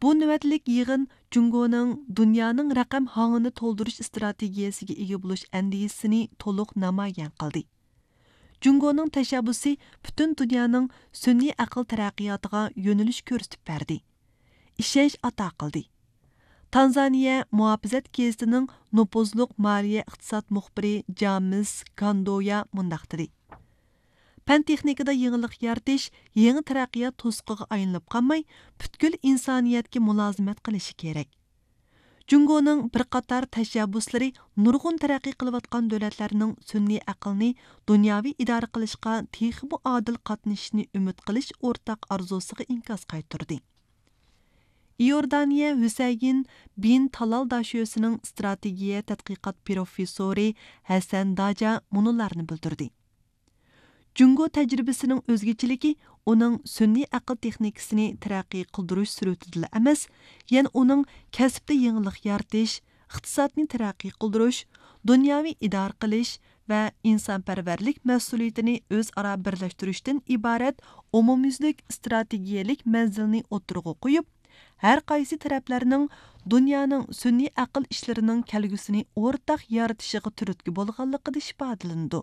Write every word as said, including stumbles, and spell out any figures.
بۇ نۆۋەتلىك يىغىن جۇڭگونىڭ دۇنيانىڭ رەقەم ھاڭىنى تولدۇرۇش ئىستراتېگىيەسىگە ئىگە بولۇش ئەندىزىسىنى تولۇق نامايان قىلدى. جۇڭگونىڭ تەشەببۇسى پۈتۈن دۇنيانىڭ سۈنئىي ئەقىل تەرەققىياتىغا يۆنىلىش كۆرسىتىپ بەردى، ئىشەنچ ئاتا قىلدى. تانزانىيە مۇھاپىزەت گېزىتىنىڭ نوپۇزلۇق مالىيە ئىقتىساد مۇخبىرى جامىس گاندويا مۇنداق دېدى: پەن تېخنىكىدا يېڭىلىق يارىتىش يېڭى تەرەققىيات توسۇقىغا ئايلىنىپ قالماي، پۈتكۈل ئىنسانىيەتكە مۇلازىمەت قىلىشى كېرەك. جۇڭگونىڭ بىر قاتار تەشەببۇسلىرى نۇرغۇن تەرەققىي قىلىۋاتقان دۆلەتلەرنىڭ سۈنئىي ئەقىلنى دۇنياۋى ئىدارە قىلىشقا تېخىمۇ ئادىل قاتنىشىشىنى ئۈمىد قىلىش ئورتاق ئارزۇسىغا ئىنكاس قايتۇردى. ئىئوردانىيە ھۈسەيىن بىن تالال داشۆسىنىڭ ئىستراتېگىيە تەتقىقات پروفېسسورى ھەسەن داجا مۇنۇلارنى بىلدۈردى: جۇڭگو تەجرىبىسىنىڭ ئۆزگىچىلىكى ئۇنىڭ سۈنئىي ئەقىل تېخنىكىسىنى تەرەققىي قىلدۇرۇش سۈرئىتىدىلا ئەمەس، يەنە ئۇنىڭ كەسىپتە يېڭىلىق يارىتىش، ئىقتىسادنى تەرەققىي قىلدۇرۇش، دۇنياۋى ئىدارە قىلىش ۋە ئىنسانپەرۋەرلىك مەسئۇلىيىتىنى ئۆزئارا بىرلەشتۈرۈشتىن ئىبارەت ئومۇميۈزلۈك ئىستراتېگىيەلىك مەنزىلنى ئوتتۇرىغا قويۇپ، ھەر قايسى تەرەپلەرنىڭ دۇنيانىڭ سۈنئىي ئەقىل ئىشلىرىنىڭ كەلگۈسىنى ئورتاق يارىتىشىغا تۈرتكە بولغانلىقىدا ئىپادىلىنىدۇ.